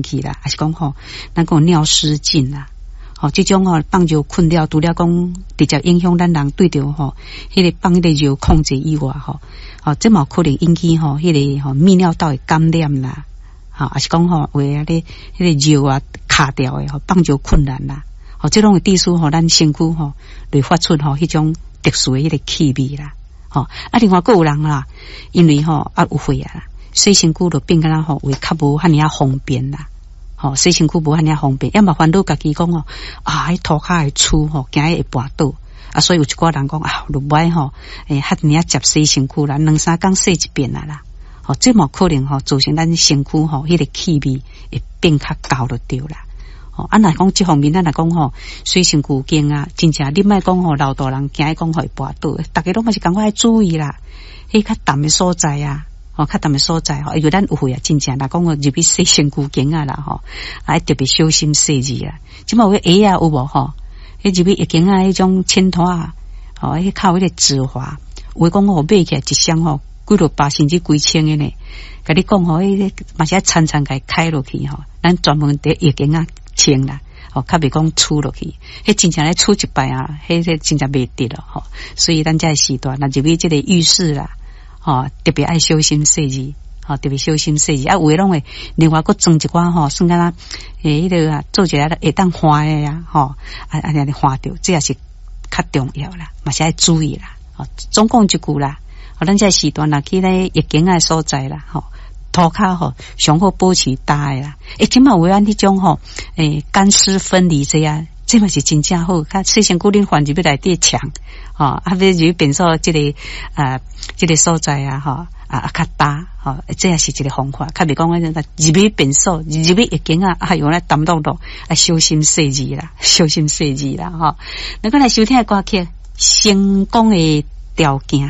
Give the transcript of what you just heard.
去啦，抑是講吼，咱講尿失禁啦，吼，這種吼放尿困擾，除了講直接影響咱人對著吼，彼個放彼個尿控制以外吼，吼，這嘛有可能引起吼，彼個吼泌尿道的感染啦，吼，抑是講吼有的咧，彼個尿啊卡著的吼，放尿困難啦，吼，這攏會致使吼咱身軀吼會發出吼彼種特殊的彼個氣味啦，吼，啊，另外閣有人啦，因為吼啊有血壓啦，洗身軀就變敢若吼會較無遐爾仔方便啦，吼，洗身軀無遐爾方便，也嘛煩惱家己講吼啊，彼塗跤會怵吼，驚伊會跋倒啊，所以有一寡人講啊，就無愛吼，欸，遐爾仔捷洗身軀啦，兩三工洗一遍啊啦，吼，這嘛可能吼造成咱身軀吼彼個氣味會變較厚就對啦。吼，啊，若講這方面，咱若講吼，洗身軀間啊，真正你莫講吼，老大人驚伊講會跋倒，逐家攏嘛是仝款愛注意啦，彼較澹的所在啊。吼，較澹的所在吼，因為咱有血壓，真正若講入去洗身軀間仔啦吼，啊特別小心細膩啦。這馬有彼鞋仔有無吼？彼入去浴間仔彼種淺拖仔，吼，彼較有彼個止滑，有的講吼買起來一雙吼幾落百甚至幾千的呢。共你講吼，彼個嘛是愛層層共伊開落去吼，咱專門佇浴間仔穿啦，吼，較袂講怵落去。彼真正咧怵一擺啊，彼個真正袂得咯吼。所以咱這個時段，若入去這個浴室啦。吼，特別愛小心細膩，吼，特別小心細膩。啊，有的攏會另外閣裝一寡吼，算敢若欸，彼個啊，做一個會當換的啊，吼，啊啊，按呢換著，這也是較重要啦，嘛是愛注意啦。吼，總共一句啦，吼，咱這個時段若去咧浴間仔所在啦，吼，塗跤吼上好保持焦的啦。欸，這馬有按彼種吼，欸，乾濕分離這啊，這嘛是真正好，較洗身軀恁翻入去內底牆，吼，啊，欲入去便所這個啊，這個所在啊，吼，啊較焦，吼，這也是一個方法，較袂講按入去便所，入去浴間仔，哎喲咧澹漉漉，啊，小心細膩啦，小心細膩啦，吼。咱閣來收聽歌曲《成功的條件》。